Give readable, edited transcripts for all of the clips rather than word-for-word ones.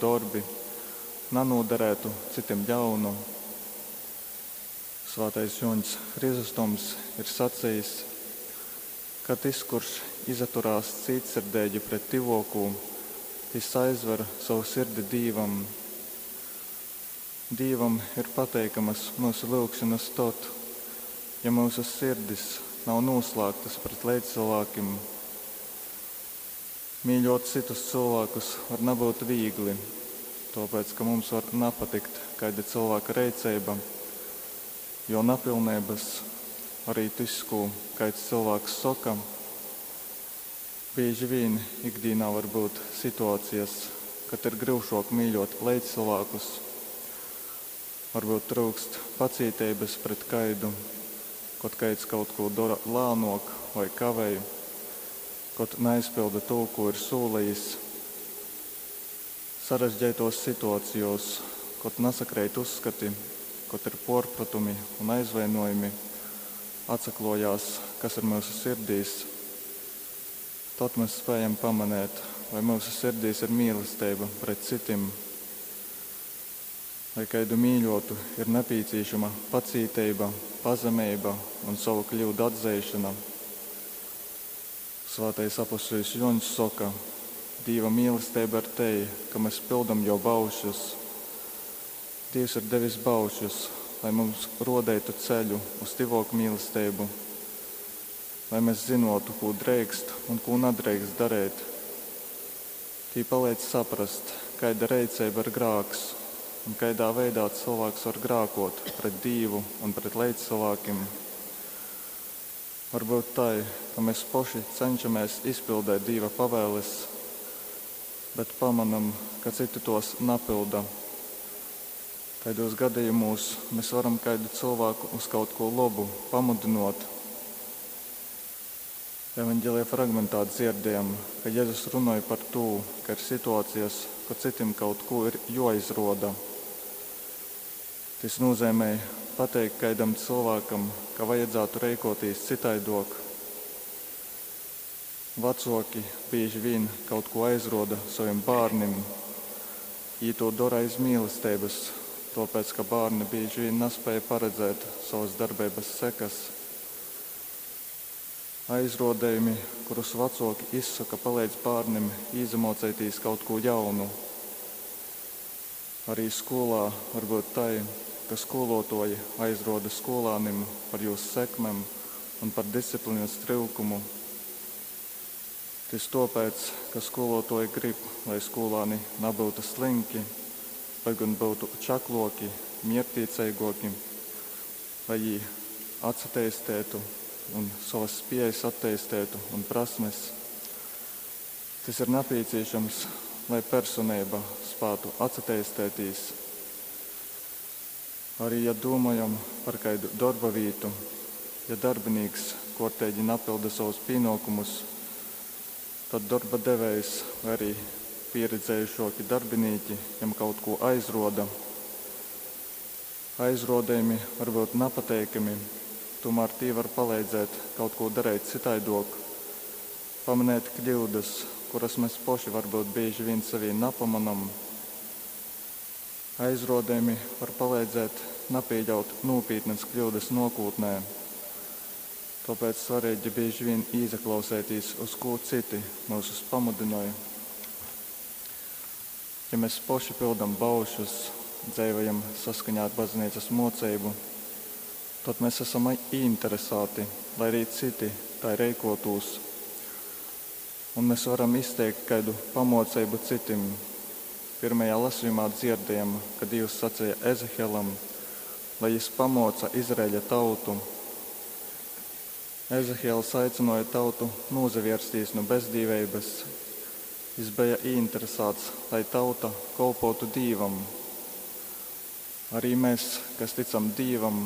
dorbi nanūdarētu cytim ļaunu. Svātais Jōņs Chrizostoms ir sacejis, ka tys, kurš izaturās cītsirdeigi pret tyvōkū, tys aizver sovu sirdi Dīvam. Dīvam ir pateikamas myusu lyugšonas tod, ja myusu sirdis nav nūslāgtas pret leidzcylvākim. Mīļōt cytus cylvākus var nabyut vīgli, tōpēc, ka mums var napatikt kaida cylvāka reiceiba, jō napilneibas, arī tys, kū kaids cylvāks soka. Bīži vīn ikdīnā var byut situācijas, kad ir gryušōk mīļōt leidzcylvākus. Varbyut tryukst pacīteibas pret kaidu, kod kaids kaut kū dora lānōk voi kavej, kod naizpylda tū, kū ir sūlejis. Sarežģeitōs situacijōs, kod nasakreit uzskati, kod ir pōrprotumi un aizvainōjumi, atsaklōjās, kas ir myusu sirdīs. Tod mes spējam pamanēt, vai myusu sirdīs ir mīlesteiba pret cytim. Lai kaidu mīļōtu, ir nepīcīšama pacīteiba, pazemeiba un sovu kļūdu atzeišana. Svātais apostoļs Jōņs soka, Dīva mīlesteiba ir tei, ka mes pildam jō baušļus. Dīvs ir devis baušļus, lai mums rodeitu ceļu uz tyvōku mīlesteibu, lai mēs zinotu, kū dreikst un kū nadreikst dareit. Tī paleidz saprast, kaida reiceiba ir grāks un kaidā veidā cilvēks var grākot pret Dīvu un pret leidzcylvākim. Varbyut tai, ka mēs poši cenšamies izpildēt Dīva pavēles, bet pamanam, ka citi tos napilda. Taidos gadījumos mēs varam kaidu cilvēku uz kaut ko labu pamudinot. Evanģelija fragmentā dzirdējam, ka Jēzus runāja par to, ka ir situācijas, kad citim kaut ko ir jāizroda. Tas nozīmē pateikt kaidam cilvēkam, ka vajadzētu reikotīs citaidok. Vecoki bieži vien kaut ko aizroda saviem bērniem. Jī to dara aiz mīlestības, tāpēc, ka bērni bieži vien nespēja paredzēt savas darbības sekas. Aizrodējumi, kurus vecoki izsaka, palīdz bērniem izmocēties kaut ko jaunu. Arī skolā var būt tai, ka skolotoji aizroda skolānim par jūs sekmem un par disciplīnas tryukumu. Tis tāpēc, ka skolotoji grib, lai skolāni nebūtu slinki, bet gan būtu čakloki, miertīcīgoki, lai jī atsateistētu un savas spējas attīstētu un prasmes. Tas ir nepieciešams, lai personība spētu atsateistētīs. Arī, ja domājam par kādu darba vietu, ja darbinīks kārtīgi napilda savus pienākumus, tad darba devējs vai arī pieredzējušoki darbinīki jam kaut ko aizroda. Aizrodējumi var būt nepateikami, tomēr tie var palīdzēt kaut ko darīt citaidok, pamanēt kļūdas, kuras mēs poši varbūt bieži vien sevī nepamanam. Aizrodējumi var palīdzēt nepieļaut nopietnas kļūdas nākotnē. Tāpēc svarīgi bieži vien ieklausēties, uz ko citi mūsus pamudināja. Ja mēs poši pildam baušus, dzīvojam saskaņā ar baznīcas mocību, tad mēs esam ieinteresēti, lai arī citi tā reikotūs. Un mēs varam izteikt kādu pamocību citim. Pirmajā lasījumā dzirdējam, ka Dievs sacīja Ezehelam, lai jis pamoca Izraēļa tautu. Ezehielis aicināja tautu nozavērsties no bezdīvības. Jis bija ieinteresēts, lai tauta kalpotu Dievam. Arī mēs, kas ticam Dievam,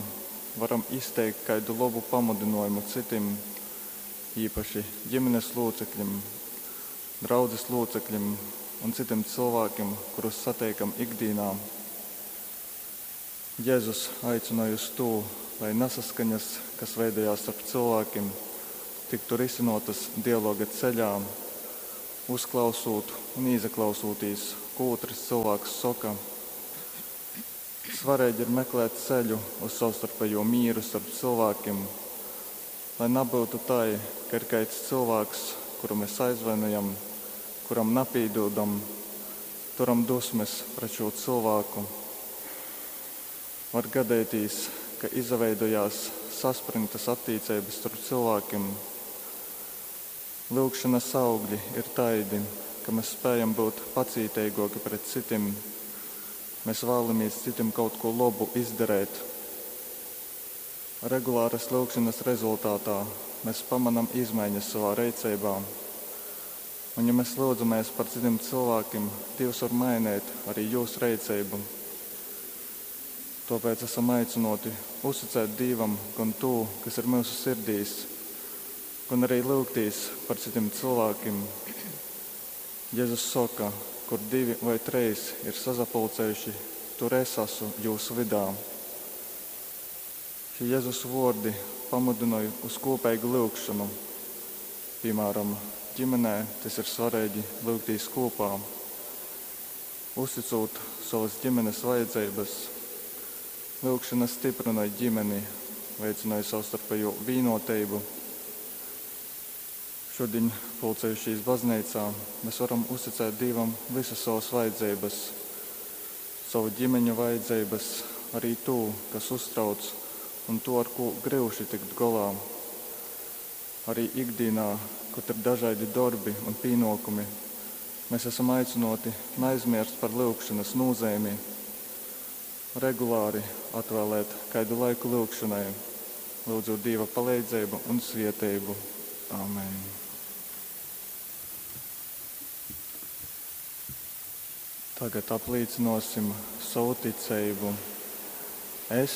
varam izteikt kādu labu pamudinājumu citim, īpaši ģimenes locekļiem, draudzes locekļiem un citiem cilvēkiem, kurus satiekam ikdienā. Jēzus aicināja uz to, lai nesaskaņas, kas veidojās starp cilvēkiem, tiktu risinotas dialoga ceļā, uzklausot un ieklausūtīs kū ūtrs cylvāks soka. Svareigi ir meklēt ceļu uz sovstarpejū mīru storp cylvākim, lai nabyutu tai, ka ir kaids cylvāks, kuru mes aizvainojam, kuram napīdūdam, turam dusmes pret šū cylvāku. Var gadeitīs, ka izaveidojās saspryngtas attīceibas storp cylvākim. Lyugšonas augļi ir taidi, ka mes spējam byut pacīteigōki pret cytim. Mes vēlamīs cytim kaut kū lobu izdareit. Regulāras lyugšonas rezultātā mes pamanam izmaiņas savā reiceibā. Un ja mes lyudzamies par cytim cylvākim, Dīvs var maineit arī jūs reiceibu. Tōpēc esam aicynōti uzticēt Dīvam gan tū, kas ir myusu sirdīs, gan arī lyugtīs par cytim cylvākim. Jezus soka, kur divi vai treis ir sasapulcējuši, tur es esmu jūs vydā. Šie Jezus vōrdi pamudynoj uz kūpeigu lyugšonu. Piemēram, ģimenē tas ir svarīgi lyugtīs kopā, uzticot savas ģimenes vajadzības. Lyugšana stiprynoj ģimeni, veicynoj savstarpējo vienotību. Šodien, pulcējušies baznīcā, mēs varam uzticēt Dievam visas savas vajadzības, savu ģimeņu vajadzības, arī tū, kas uztrauc, un to, ar ko gryuši tikt golā. Arī ikdienā, kad ir dažādi darbi un pienākumi, mēs esam aicināti neaizmirst par lyugšanas nozīmi, regulāri atvēlēt kādu laiku lyugšanai, lūdzot Dieva palīdzību un svietējumu. Amen. Tagad apliecināsim savu ticību. Es